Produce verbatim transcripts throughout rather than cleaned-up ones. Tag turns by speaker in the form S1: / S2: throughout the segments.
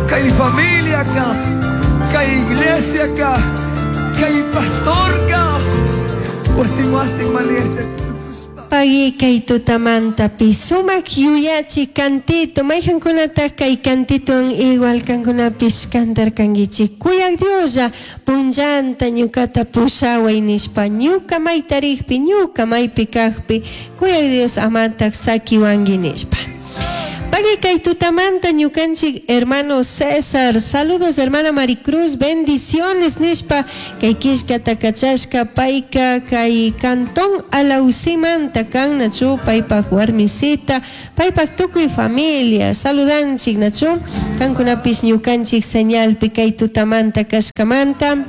S1: Kay familiaka, kay iglesiaka, kay pastorka, wasin wasin mana yachachitukushpa.
S2: Pagui kay tutamantapi sumak yuyachi cantito mayqankunataq kay cantituwan igual kankunapish cantarkankichik kuyak Dioslla punllanta ñukata pushaway nishpa ñuka maytarikpi ñuka maypi kaqpi kuyak Dios amataq sakiwanki nishpa. Pagui kay tutamanta ñukanchik hermano César, saludos hermana Maricruz, bendiciones nishpa kay killkata kachashka payka kay cantón Alausimanta kan nachu paypak warmisita, paypak tukuy familia, saludanchik nachu kankunapish ñukanchik señalpi kay tutamanta kashkamanta.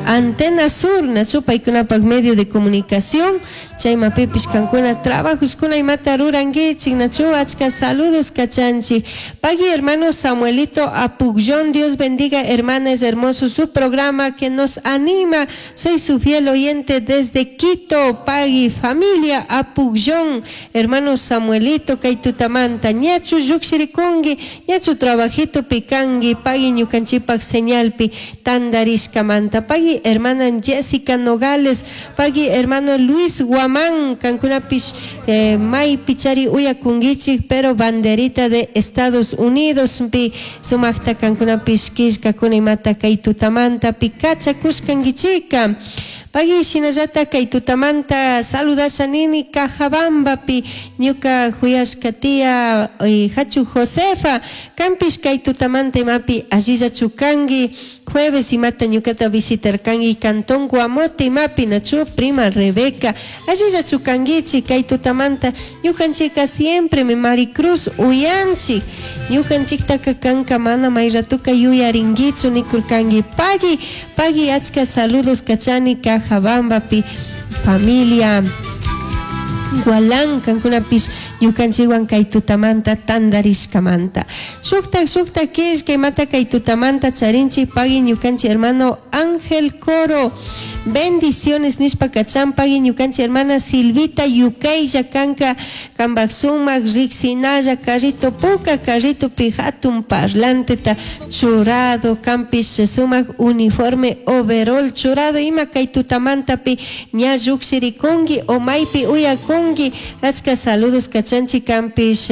S2: Antena Sur, nachu paykunapak medio de comunicación, chaymapipish kankuna trabajuskuna imata rurankichik, nachu achka saludos kachanchik. Pagui hermano Samuelito Apugyón, Dios bendiga hermana, es hermoso su programa que nos anima, soy su fiel oyente desde Quito, pagui familia Apugyón, hermano Samuelito kay tutamanta, ñachu llukshirikunki, ñachu trabajito pikanki, pagui ñukanchikpak señalpi tandarishkamanta, pagui hermana Jessica Nogales, pagui hermano Luis Guamán, kankunapish eh, maypi chari uyakunkichik, pero banderita de Estados Unidos pi sumakta kankunapish killkakuna imata kay tutamanta pi kachakushkankichika. Pagui shinallata kay tutamanta saludasha nini Cajabambapi ñuka huyashka tía eh, Hachu Josefa, kampish kay tutamanta imapi allillachu kanki, jueves imata ñukata visitarkanki Cantón Guamote imapi nachu prima Rebeca, allillachu kankichik kay tutamanta ñukanchika siempre mi Maricruz uyanchik, ñukanchiktaka kanka mana may ratuka yuyarinkichu nikurkanki. Pagui, pagui achka saludos kachani Cajabambapi familia Gualán kankunapish ñukanchikwan kay tutamanta tandarishkamanta. Shuktak shuktak killka imata kay tutamanta charinchik pagui ñukanchik hermano Ángel Coro, bendiciones nishpa kachan pagui ñukanchik hermana Silvita Yukaylla kanka kambak sumak riksinalla carrito puka carrito pi hatun parlanteta churado kampish sumak uniforme overall churado ima kay tutamantapi ña llukshirikunki o maypi uyakunki achka saludos kachanchik kampish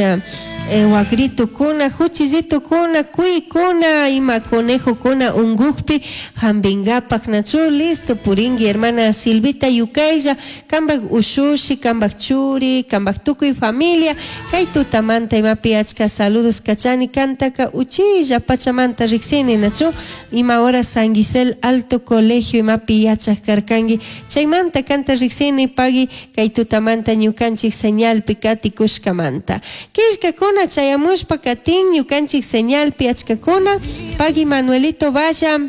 S2: eh, wakritukuna huchillitukuna kuykuna ima conejokuna unkukpi hampinkapak nachu listo purinki hermana Silvita Yukaylla kambak ushushi kambak churi kambak tukuy familia kay tutamanta imapi achka saludos kachani kantaka uchilla pachamanta riksini nachu ima hora San Gisel Alto Colegio imapi yachak karkanki chaymanta kanta riksini pagui kay tutamanta ñukanchik señalpi katikushkamanta killkakuna chayamushpa katin ñukanchik señalpi achkakuna pagui Manuelito Valla.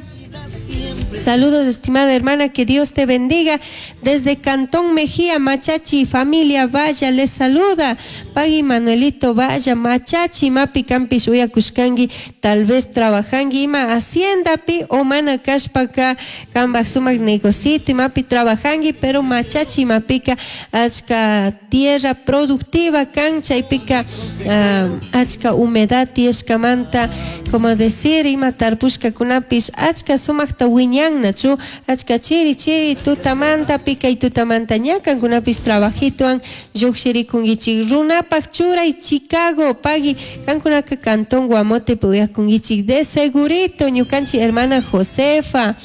S2: Saludos, estimada hermana, que Dios te bendiga. Desde Cantón Mejía, Machachi, familia Valla, les saluda. Pagui Manuelito Valla, Machachi, Mapi Campish, uyakushkangi, tal vez trabajangi, ima hacienda pi, o mana kashpaka, kambak sumak negocito, mapi trabajangi, pero Machachi, mapika, achka tierra productiva, kan, chaypika, uh, achka humedad, tiyashkamanta, como decir, ima tarpushka kunapish, achka sumakta wiñan nachu achka chiri chiri tutamanta pikay tutamanta ña kankunapish trabajituan llukshirikunkichik runapak churay Chicago pagui kankunaka Cantón Guamote uyakunkichik de segurito ñukanchik hermana Josefa,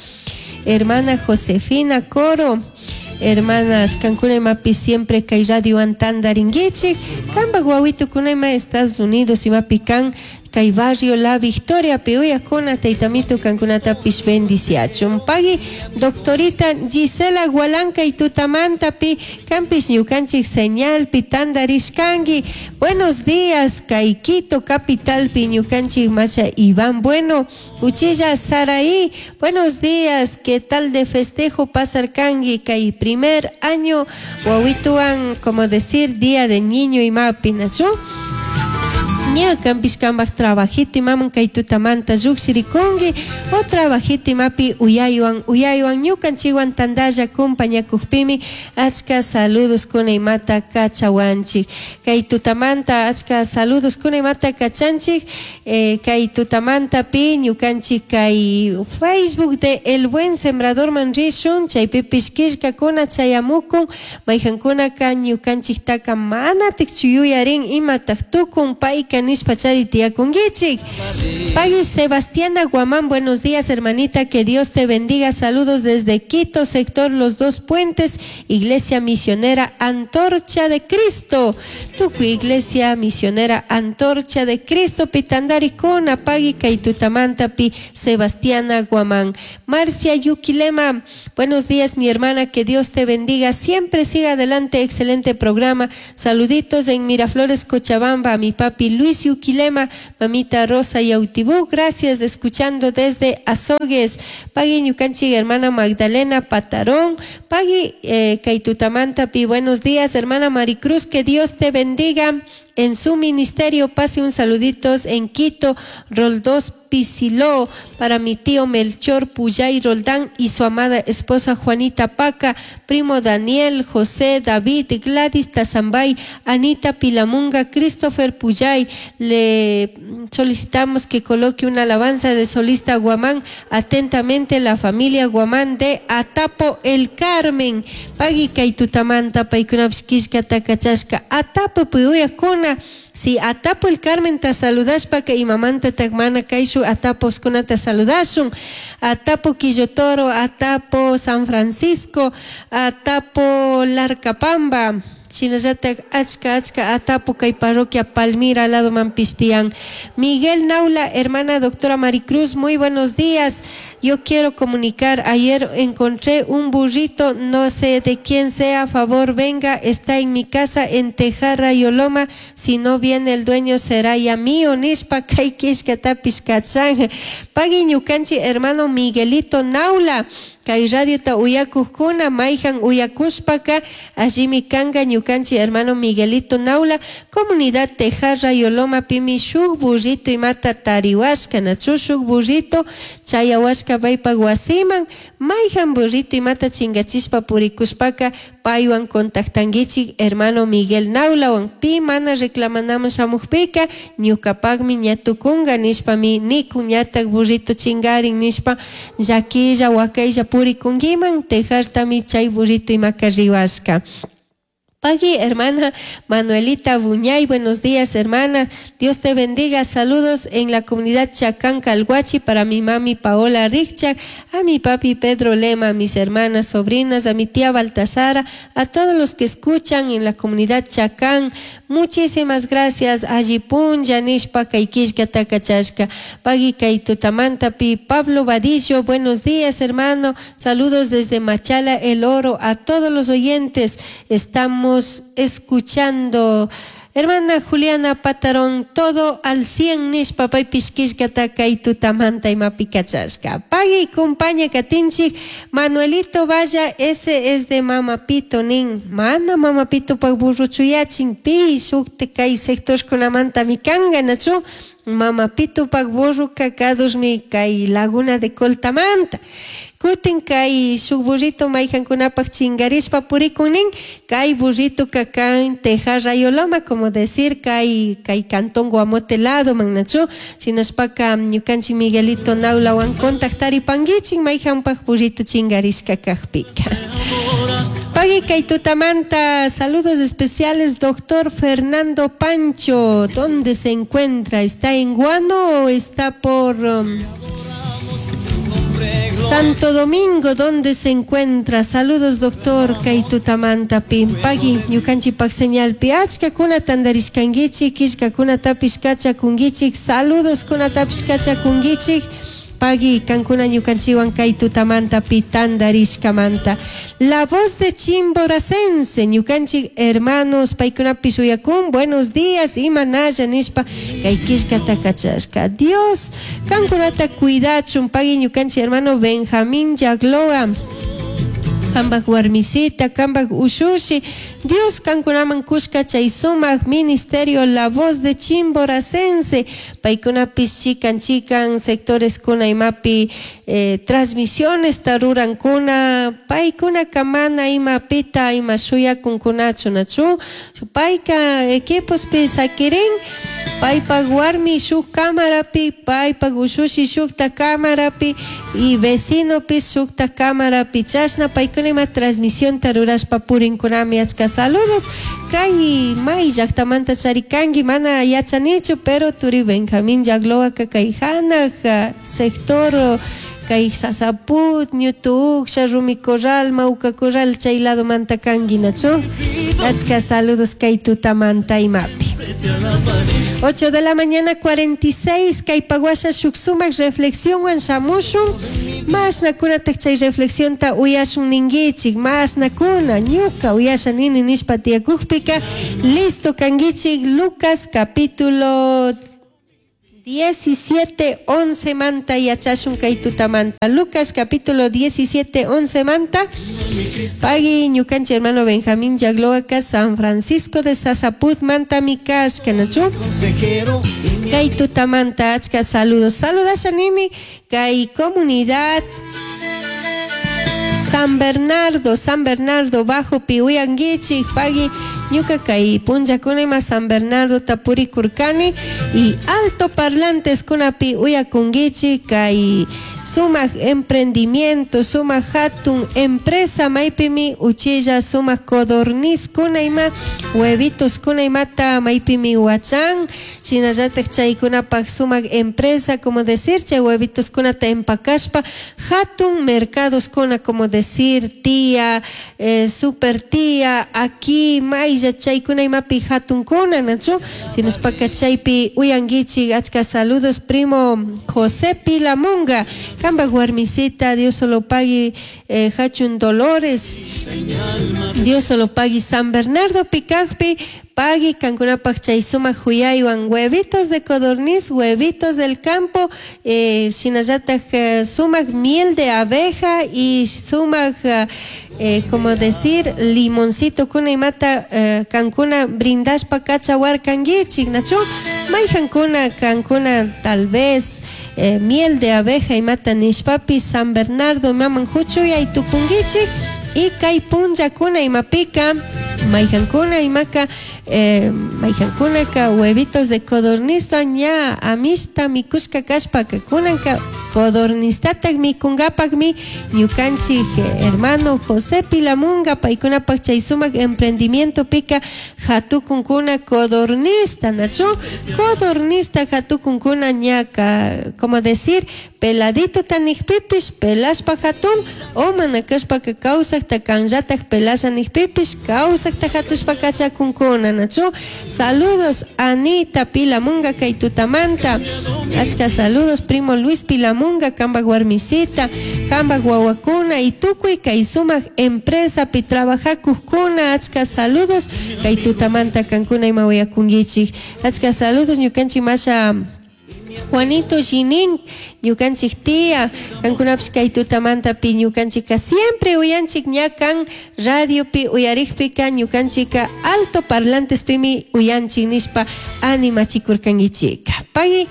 S2: hermana Josefina Coro, hermanas kankuna imapi siempre kay radiowan tandarinkichik kampak wawitukuna ima Estados Unidos imapi kan kay barrio La Victoria pi uyakuna taytamito kankunatapish bendiciachun pagui doctorita Gisela Gualanca y tutamanta pi kampish ñukanchik señalpi tandarishkanki buenos días kay Quito capital pi ñukanchik macha Iván Bueno uchilla Saraí buenos días qué tal de festejo pasarkanki kay primer año wawituwan como decir día de niño imapi nachu. Ña kanpish kanpak trabajito imaman kay tutamanta llukshirikunki o trabajito imapi uyaywan uyaywan ñukanchikwan tantalla compañakukpimi achka saludos kuna imata kachawanchik. Kay tutamanta achka saludos kuna imata kachanchik eh, kay tutamantapi ñukanchik kay Facebook de El Buen Sembrador man rishun chaypipish killkakuna chayamukun mayjankunaka ñukanchiktaka manatik yuyarin imatak tukun payka nishpa chari tiyakunkichik. Pagui Sebastiana Guamán, buenos días hermanita, que Dios te bendiga, saludos desde Quito, sector Los Dos Puentes, Iglesia Misionera Antorcha de Cristo, tukuy Iglesia Misionera Antorcha de Cristo, pitandarikuna, pagui kay tutamantapi Sebastiana Guamán. Marcia Yuquilema, buenos días mi hermana, que Dios te bendiga, siempre siga adelante, excelente programa, saluditos en Miraflores, Cochabamba, a mi papi Luis Yuquilema, mamita Rosa Yautibú, gracias, escuchando desde Azogues. Pagui ñukanchik hermana Magdalena Patarón, pagui eh, kay tutamantapi, buenos días hermana Maricruz, que Dios te bendiga en su ministerio, pase un saluditos en Quito, Roldós Pisiló, para mi tío Melchor Puyay Roldán y su amada esposa Juanita Paca, primo Daniel, José, David, Gladys Tazambay, Anita Pilamunga, Christopher Puyay. Le solicitamos que coloque una alabanza de solista Guamán. Atentamente la familia Guamán de Atapo El Carmen. Pagui kay tutamanta paykunapish killkata kachashka Atapo puyuyakuna. Si Atapo El Carmen ta saludashpaka imamanta takmana kayshu Ataposkunata saludashun. Atapo Quillotoro, Atapo San Francisco, Atapo Larcapamba. Shinallatak achka achka Atapo kay parroquia Palmira lado manpistian. Miguel Naula, hermana doctora Maricruz, muy buenos días. Yo quiero comunicar, ayer encontré un burrito, no sé de quién sea, a favor venga, está en mi casa en Tejarra y Oloma, si no viene el dueño será ya mío, nishpa kay killkatapish kachan. Pagui ñukanchik hermano Miguelito Naula, kay radiota uyakukuna mayjan uyakushpaka allimi kanka ñukanchik hermano Miguelito Naula, comunidad Tejarra y Oloma pimi shuk burrito imata tariwashka, nachu shuk burrito chayawashka paypak wasiman, mayjan burrito imata chingachishpa purikushpaka paywan contactankichik hermano Miguel Naulawan, pi mana reclamanaman shamukpika ñukapakmi ña tukunka nishpami nikun ñatak burrito chingarin nishpa llakilla wakaylla purikunkiman tejartami chay burrito imaka riwashka. Pagui, hermana Manuelita Buñay, buenos días, hermana. Dios te bendiga. Saludos en la comunidad Chacán Calhuachi para mi mami Paola Richak, a mi papi Pedro Lema, a mis hermanas, sobrinas, a mi tía Baltasara, a todos los que escuchan en la comunidad Chacán. Muchísimas gracias. Allipun, Yanishpa, Kaikishka, Takachashka, Pagui, Kaitutamantapi, Pablo Vadillo, buenos días, hermano. Saludos desde Machala, El Oro, a todos los oyentes. Estamos escuchando. Hermana Juliana Patarón, todo al cien nishpa paypish killkata kay tutamanta imapi kachashka. Pagui, compaña katinchik, Manuelito Valla, ese es de Mama Pito nin. Mana Mama Pito pak burro chuyachin, pi shukte kay sectorkunamanta mikanga nachu. Mama Pito pak burro kakadusmi kay Laguna de Coltamanta. Kutin kay shuk burrito mayjankunapak chingarishpa purikunin, kay burrito kakan Tejarra y Oloma, como decir kay kay cantón Guamote lado mannachu, shinashpaka ñukanchik Miguelito Naulawan contactaripankichik mayjanpak burrito chingarishka kakpika. Pagui kay tutamanta, saludos especiales, doctor Fernando Pancho, ¿dónde se encuentra? ¿Está en Guano o está por um, Santo Domingo? ¿Dónde se encuentra? Saludos, doctor kay tutamanta pi. Pagui, ñukanchikpak señalpi achkakuna tantarishkankichik, killkakunatapish kachakunkichik, saludos kunatapish kachakunkichik. Pagui, kankuna ñukanchikwan kay tutamanta pi tantarishkamanta. La voz de Chimboracense, ñukanchik hermanos paykunapish uyakun, buenos días, imanalla nishpa kay killkata kachashka. Dios kankunata cuidachun. Pagui ñukanchik hermano Benjamín Yagloa. Kambak warmisita, kambak ushushi, Dios kankunaman kushka chay sumak ministerio La Voz de Chimboracense, paykunapis chikan chikan sectores kuna imapi eh, transmisiones tarurankuna, paykuna kamana imapita ima shuyakunkunachu nachu, payka equipospi sakirin, paypak warmi shuk cámarapi, paypak ushushi shukta cámarapi y vecinopis shukta cámarapi, chashna paykuna ima transmisión tarurashpa purinkunami. Achka saludos kay may llaqtamanta charikanki mana yachanichu, pero turi Benjamín Yagloaka kay hanaq sector kay Sasaput, Ñutuuksha, Rumi Corral, Mauca Corral chay lado manta kanki nachu. Achka saludos kay tutamanta imapi. ocho de la mañana cuarenta y seis, kay paguasha shuk sumak reflexión shamushun, masna kunatak chay reflexión ta uyashun ninguichik, masna kuna ñuka uyasha nini nishpa tiyakukpika, listo kanguichik. Lucas capítulo diecisiete, once manta yachashun kay tutamanta. Lucas capítulo diecisiete, once manta. Pagui ñukanchi hermano Benjamín Yagloaca, San Francisco de Sasaput manta mikash kanachu. Kay tutamanta achka saludos. Saludas nini kay comunidad San Bernardo, San Bernardo bajo piuyanguichi, pagui ñuka kay punllakuna ima San Bernardo tapuri kurkani y alto parlantes kunapi uyakunguichi kay sumak emprendimiento, sumak hatun empresa maypimi uchilla sumak codorniz kuna ima huevitos kuna imata maypimi huachan shinallatak chaykunapak sumak empresa como decir chay huevitos kunata empakashpa hatun mercados kuna como decir tía, eh, super tía aquí maylla chaykuna imapi hatun kuna nachu shinashpaka chaypi uyanguichi. Achka saludos primo José Pilamunga, Kamba warmisita, Dios solo pagui eh, Hachun Dolores, Dios solo pagui San Bernardo Picajpi, pagui kankunapak chay sumak huyaywan huevitos de codorniz, huevitos del campo, eh, shinallatak eh, sumak miel de abeja y sumak eh, como decir limoncito kuna imata eh, kankuna brindashpa kachawar kanguichik nachu mayjankuna kankuna tal vez eh, miel de abeja imata nishpapi San Bernardo maman huchuyay tukunguichik y kay punllakuna imapika mayjankuna imaka eh, mayjankunaka huevitos de codorniz ña amishta mikushka kashpaka kunanka codornistatak mikungapakmi ñukanchik hermano José Pilamunga paykunapak chay sumak emprendimiento pika hatukunkuna codornista nachu codornista hatukunkuna ñaka como decir peladito tanikpipish pelashpa hatun o manakashpaka kawsakta kanllatak pelasha nikpipish kawsakta hatushpa kachakunkuna nachu. Saludos Anita Pilamunga kay tutamanta, achka saludos primo Luis Pilamunga kambak warmisita kambak wawakuna y tukuy kay sumak empresa pi trabajakuqkuna, achka saludos kay tutamanta kankuna ima uyakunkichik. Achka saludos ñukanchik masha Juanito Ginin, ñukanchik tía, kankunapish kay tutamantapi ñukanchika siempre uyanchik ñakan radiopi uyarikpika ñukanchika alto parlantespimi uyanchik nishpa animachikurkankichika. Pagui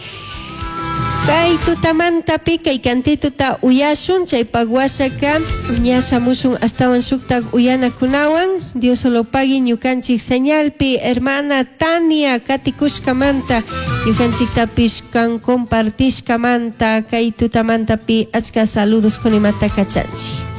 S2: kay tutamantapi kay kantituta uyashun chaypak washaka ña shamushun astawan shuktak uyanakunawan. Dios solo pagui ñukanchik señalpi hermana Tania katikushkamanta ñukanchiktapish kan compartishkamanta kay tutamantapi achka saludos kunimata kachanchik.